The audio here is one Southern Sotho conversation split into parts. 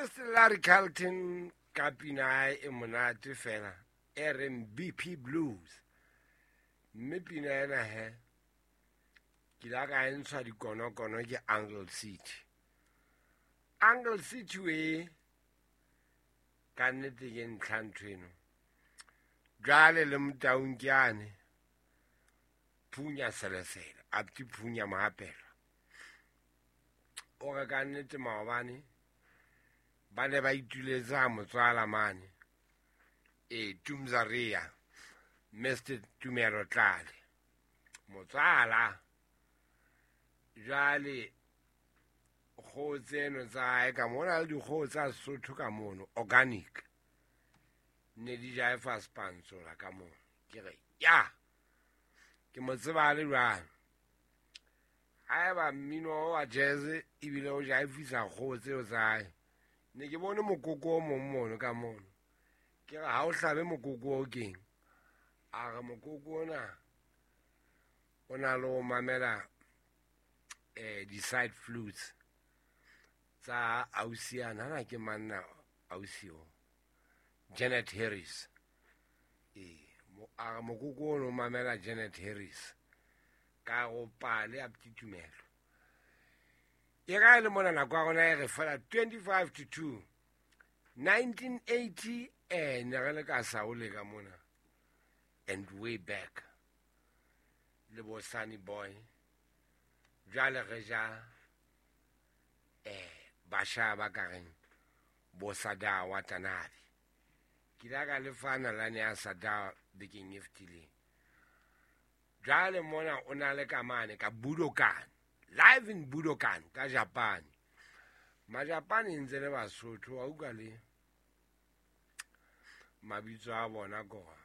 Mr Larry Carlton ka pina hae e monate fela e reng BP Blues. Mme pina ena he ke la ka e ntshwa dikonokono ke Uncle City. Uncle City we ka nnete ke ntlha ntho eno. Jwale le motaung ke ane phunya selesele apti phunya mohapelo. O re ka nnete maobane ba ne ba ituletse ha motswala mane e Tumzaria Mr Tumelo Tlale motswala jwale kgoho tseno tsa hae ka mona le dikgoho tsa Sesotho ka mono organic ne di jaefa spantsola ka mono. Ke re ya ke mo tseba le jwang haeba mmino wa jazz ebile o jaefisa kgoho tseo tsa hae. Ne ke bone mokoko o mong mono ka mono, ke re ha o hlabe mokoko o keng, a re mokoko ona o na le ho mamela di-side flutes tsa ausiana. Hana ke manna ausi o Janet Harris. A re mokoko ono o mamela Janet Harris ka go pale a ptitumelo. E ga e le mona nako ya rona e re fela 25 to 2 1980 ne re le ka Saole ka mona and way back le bo Sunny Boy. Jwale re ja basha ba ka reng bo Sada Watanabe. Ke ile ka le fa nalane ya Sada bekeng e fetileng. Jwale mona o na le ka mane ka Budokan, live in Budokan ka Japan. Majapane ntse le Basotho wa utlwa le mabitso a bona kona.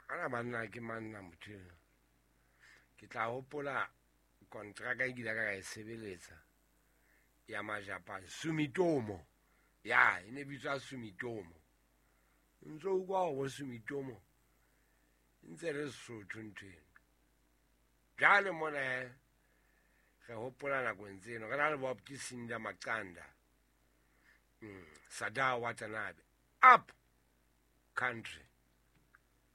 Ana banna ke manna motho eno. Ke tla hopola kontraka e kile ka e sebeletsa ya Majapan, Sumitomo. Ya e ne bitswa Sumitomo. Ntso utlwa hore bo Sumitomo ntse re Sesotho ntho eno. Jwale mona re hopola nakong tseno re na le Bob ke Sinda Maqanda, Sadao Watanabe, Up Country.